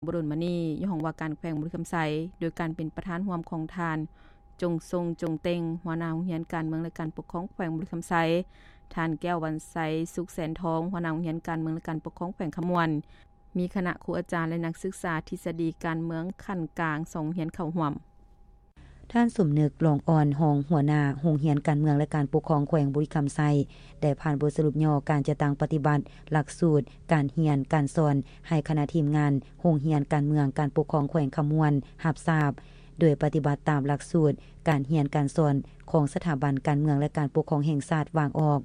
ບໍ່ດົນມານີ້ ຢູ່ຫ້ອງວ່າການແຂວງບໍລິຄຳໄຊ ໂດຍການເປັນປະທານຮ່ວມຂອງທ່ານ ຈົງຊົງ ຈົງເຕັງ ຫົວໜ້າໂຮງຮຽນການເມືອງ ແລະ ການປົກຄອງແຂວງບໍລິຄຳໄຊ, ທ່ານ ແກ້ວ ວັນໄຊ ສຸກແສນທອງ ຫົວໜ້າໂຮງຮຽນການເມືອງ ແລະ ການປົກຄອງແຂວງຄຳມ່ວນ, ມີຄະນະຄູອາຈານ ແລະ ນັກສຶກສາທິດສະດີການເມືອງຂັ້ນກາງສອງໂຮງຮຽນເຂົ້າຮ່ວມ. ທ່ານ ສົມນຶກ ຫຼອງອ່ອນ ຮອງຫົວໜ້າໂຮງຮຽນການເມືອງ ແລະ ການປົກຄອງແຂວງບໍລິຄຳໄຊ ໄດ້ຜ່ານບົດສະຫຼຸບຫຍໍ້ການຈັດຕັ້ງປະຕິບັດຫຼັກສູດການຮຽນການສອນ ໃຫ້ຄະນະທີມງານໂຮງຮຽນການເມືອງ ການປົກຄອງແຂວງຄຳມ່ວນຮັບຊາບ, ໂດຍປະຕິບັດຕາມຫຼັກສູດການຮຽນການສອນຂອງສະຖາບັນການເມືອງ ແລະ ການປົກຄອງແຫ່ງຊາດວາງອອກ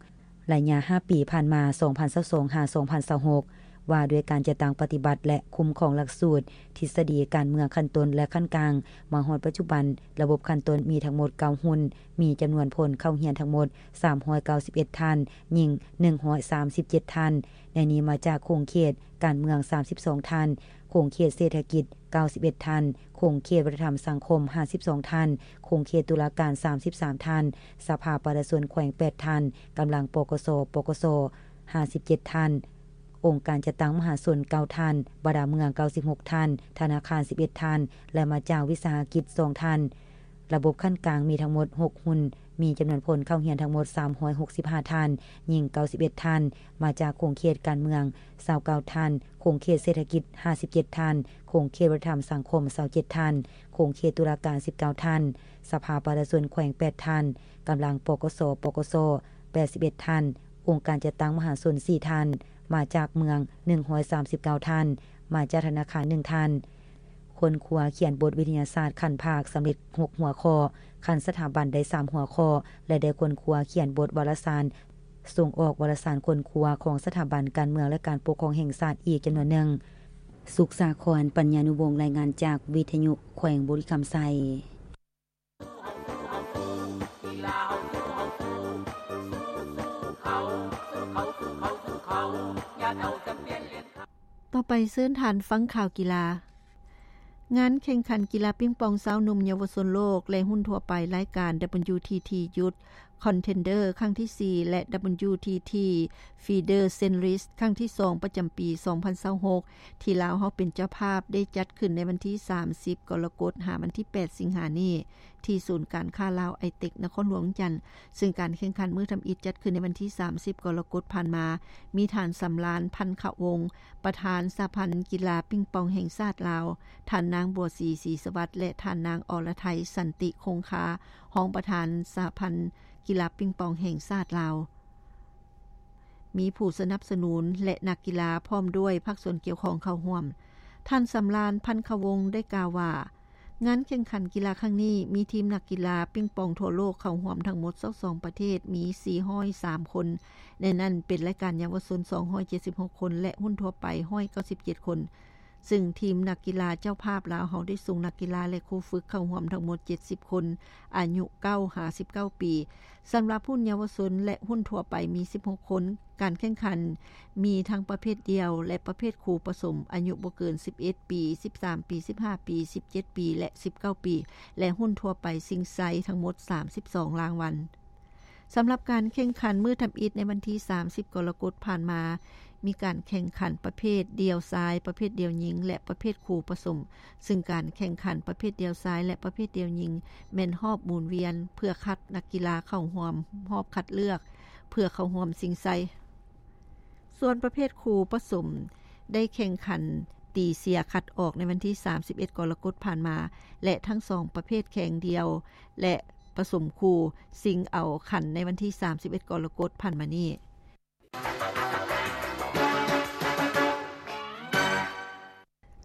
ໄລຍະຫ້າປີຜ່ານມາ ສອງພັນຊາວສອງ ຫາ ສອງພັນຊາວຫົກ ວ່າດ້ວຍການຈັດຕັ້ງປະຕິບັດ ແລະ ຄຸ້ມຄອງຫຼັກສູດທິດສະດີການເມືອງຂັ້ນຕົ້ນ ແລະ ຂັ້ນກາງ. ມາຮອດປັດຈຸບັນ, ລະບົບຂັ້ນຕົ້ນມີທັງໝົດເກົ້າຮຸ່ນ, ມີຈຳນວນຄົນເຂົ້າຮຽນທັງໝົດສາມຮ້ອຍເກົ້າສິບເອັດທ່ານ, ຍິງໜຶ່ງຮ້ອຍສາມສິບເຈັດທ່ານ, ໃນນີ້ມາຈາກຂົງເຂດການເມືອງສາມສິບສອງທ່ານ, ຂົງເຂດເສດຖະກິດເກົ້າສິບເອັດທ່ານ, ຂົງເຂດວັດທະນະທຳສັງຄົມຫ້າສິບສອງທ່ານ, ຂົງເຂດຕຸລາການສາມສິບສາມທ່ານ, ສະພາປະຊາຊົນແຂວງແປດທ່ານ, ກຳລັງ ປກສ, ປກສ ຫ້າສິບເຈັດທ່ານ, ອົງການຈັດຕັ້ງມະຫາຊົນເກົ້າທ່ານ, ບັນດາເມືອງເກົ້າສິບຫົກທ່ານ, ທະນາຄານສິບເອັດທ່ານ ແລະ ມາຈາກວິສາຫະກິດສອງທ່ານ. ລະບົບຂັ້ນກາງມີທັງໝົດຫົກຮຸ່ນ, ມີຈຳນວນຄົນເຂົ້າຮຽນທັງໝົດສາມຮ້ອຍຫົກສິບຫ້າທ່ານ, ຍິງເກົ້າສິບເອັດທ່ານ, ມາຈາກຂົງເຂດການເມືອງຊາວເກົ້າທ່ານ, ຂົງເຂດເສດຖະກິດຫ້າສິບເຈັດທ່ານ, ຂົງເຂດວັດທະນະທຳສັງຄົມຊາວເຈັດທ່ານ, ຂົງເຂດຕຸລາການສິບເກົ້າທ່ານ, ສະພາປະຊາຊົນແຂວງແປດທ່ານ, ກຳລັງ ປກສ, ປກສ ແປດສິບເອັດທ່ານ, ອົງການຈັດຕັ້ງມະຫາຊົນສີ່ທ່ານ, ມາຈາກເມືອງໜຶ່ງຮ້ອຍສາມສິບເກົ້າທ່ານ, ມາຈາກທະນາຄານໜຶ່ງທ່ານ. ຄົ້ນຄວ້າຂຽນບົດວິທະຍາສາດຂັ້ນພາກສຳເລັດຫົກຫົວຂໍ້, ຂັ້ນສະຖາບັນໄດ້ສາມຫົວຂໍ້ ແລະ ໄດ້ຄົ້ນຄວ້າຂຽນບົດວາລະສານ ສົ່ງອອກວາລະສານຄົ້ນຄວ້າຂອງສະຖາບັນການເມືອງ ແລະ ການປົກຄອງແຫ່ງຊາດອີກຈຳນວນໜຶ່ງ. ສຸກສາຄອນ ປັນຍານຸວົງ ລາຍງານຈາກວິທະຍຸແຂວງບໍລິຄຳໄຊ. ຕໍ່ໄປເຊີນທ່ານຟັງຂ່າວກິລາ. ງານແຂ່ງຂັນກິລາປິງປອງຊາວໜຸ່ມເຍົາວະຊົນໂລກ ແລະ ຮຸ່ນທົ່ວໄປລາຍການ WTT Youth Contender ຄັ້ງທີສີ່ ແລະ WTT Feeder Series ຄັ້ງທີສອງ ປະຈຳປີສອງພັນຊາວຫົກ ທີ່ລາວເຮົາເປັນເຈົ້າພາບ ໄດ້ຈັດຂຶ້ນໃນວັນທີສາມສິບ ກໍລະກົດ ຫາວັນທີແປດ ສິງຫານີ້ ທີ່ສູນການຄ້າລາວ ໄອເຕັກ ນະຄອນຫຼວງວຽງຈັນ, ເຊິ່ງການແຂ່ງຂັນມື້ທຳອິດຈັດຂຶ້ນໃນວັນທີສາມສິບ ກໍລະກົດຜ່ານມາ, ມີທ່ານ ສຳລານ ພັນຄະວົງ ປະທານສະຫະພັນກິລາປິງປອງແຫ່ງຊາດລາວ, ທ່ານນາງ ບົວສີ ສີສະຫວັດ ແລະ ທ່ານນາງ ອລະໄທ ສັນຕິຄົງຄາ ຮອງປະທານສະຫະພັນກິລາປິງປອງແຫ່ງຊາດລາວ. ມີຜູ້ສະໜັບສະໜູນ ແລະ ນັກກິລາ ພ້ອມດ້ວຍພາກສ່ວນກ່ຽວຂ້ອງເຂົ້າຮ່ວມ. ທ່ານ ສຳລານ ພັນຄະວົງ ໄດ້ກ່າວວ່າ, ງານແຂ່ງຂັນກິລາຄັ້ງນີ້ ມີທີມນັກກິລາປິງປອງທົ່ວໂລກເຂົ້າຮ່ວມທັງໝົດຊາວສອງປະເທດ, ມີສີ່ຮ້ອຍສາມຄົນ, ໃນນັ້ນເປັນລາຍການເຍົາວະຊົນສອງຮ້ອຍເຈັດສິບຫົກຄົນ ແລະ ຮຸ່ນທົ່ວໄປຮ້ອຍເກົ້າສິບເຈັດຄົນ. ເຊິ່ງທີມນັກກິລາເຈົ້າພາບລາວເຮົາໄດ້ສົ່ງນັກກິລາ ແລະ ຄູຝຶກເຂົ້າຮ່ວມທັງໝົດເຈັດສິບຄົນ, ອາຍຸເກົ້າຫາສິບເກົ້າປີ. ສຳລັບຮຸ່ນເຍົາວະຊົນ ແລະ ຮຸ່ນທົ່ວໄປມີສິບຫົກຄົນ. ການແຂ່ງຂັນມີທັງປະເພດດຽວ ແລະ ປະເພດຄູ່ປະສົມ, ອາຍຸບໍ່ເກີນສິບເອັດປີ, ສິບສາມປີ, ສິບຫ້າປີ, ສິບເຈັດປີ ແລະ ສິບເກົ້າປີ ແລະ ຮຸ່ນທົ່ວໄປຊິງໄຊທັງໝົດສາມສິບສອງລາງວັນ. ສຳລັບການແຂ່ງຂັນມື້ທຳອິດໃນວັນທີສາມສິບ ກໍລະກົດຜ່ານມາ, ມີການແຂ່ງຂັນປະເພດດ່ຽວຊາຍ, ປະເພດດ່ຽວຍິງ ແລະ ປະເພດຄູ່ປະສົມ, ເຊິ່ງການແຂ່ງຂັນປະເພດດ່ຽວຊາຍ ແລະ ປະເພດດ່ຽວຍິງ ແມ່ນຮອບໝູນວຽນ ເພື່ອຄັດນັກກິລາເຂົ້າຮ່ວມຮອບຄັດເລືອກ ເພື່ອເຂົ້າຮ່ວມຊິງໄຊ. ສ່ວນປະເພດຄູ່ປະສົມ ໄດ້ແຂ່ງຂັນຕີເສຍຄັດອອກໃນວັນທີສາມສິບເອັດ ກໍລະກົດຜ່ານມາ ແລະ ທັງສອງປະເພດແຂ່ງດ່ຽວ ແລະ ປະສົມຄູ່ ຊິງເອົາຂັນໃນວັນທີສາມສິບເອັດ ກໍລະກົດຜ່ານມານີ້.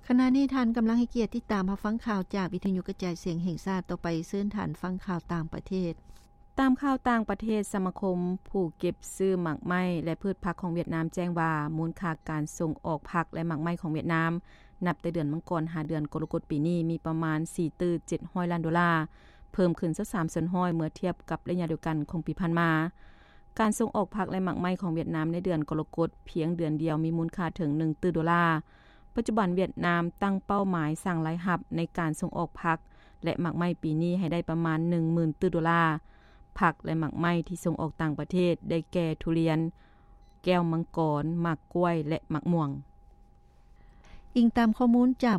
ຂະນະນີ້ທ່ານກຳລັງໃຫ້ກຽດຕິດຕາມຮັບຟັງຂ່າວຈາກວິທະຍຸກະຈາຍສຽງແຫ່ງຊາດ. ຕໍ່ໄປເຊີນທ່ານຟັງຂ່າວຕ່າງປະເທດ. ຕາມຂ່າວຕ່າງປະເທດ, ສະມາຄົມຜູ້ເກັບຊື້ໝາກໄມ້ ແລະ ພືດຜັກຂອງຫວຽດນາມແຈ້ງວ່າ ມູນຄ່າການສົ່ງອອກຜັກ ແລະ ໝາກໄມ້ຂອງຫວຽດນາມ ນັບແຕ່ເດືອນມັງກອນຫາເດືອນກໍລະກົດປີນີ້ ມີປະມານສີ່ຕື້ເຈັດຮ້ອຍລ້ານໂດລາ, ເພີ່ມຂຶ້ນຊາວສາມສ່ວນຮ້ອຍເມື່ອທຽບກັບໄລຍະດຽວກັນຂອງປີຜ່ານມາ. ການສົ່ງອອກຜັກ ແລະ ໝາກໄມ້ຂອງຫວຽດນາມໃນເດືອນກໍລະກົດພຽງເດືອນດຽວມີມູນຄ່າເຖິງໜຶ່ງຕື້ໂດລາ. ປັດຈຸບັນຫວຽດນາມຕັ້ງເປົ້າໝາຍສ້າງລາຍຮັບໃນການສົ່ງອອກຜັກ ແລະ ໝາກໄມ້ປີນີ້ໃຫ້ໄດ້ປະມານໜຶ່ງໝື່ນຕື້ໂດລາ. ຜັກ ແລະ ໝາກໄມ້ທີ່ສົ່ງອອກຕ່າງປະເທດໄດ້ແກ່ທຸລຽນ, ແກ້ວມັງກອນ, ໝາກກ້ວຍ ແລະ ໝາກມ່ວງ. ອີງຕາມຂໍ້ມູນຈາກ ບໍ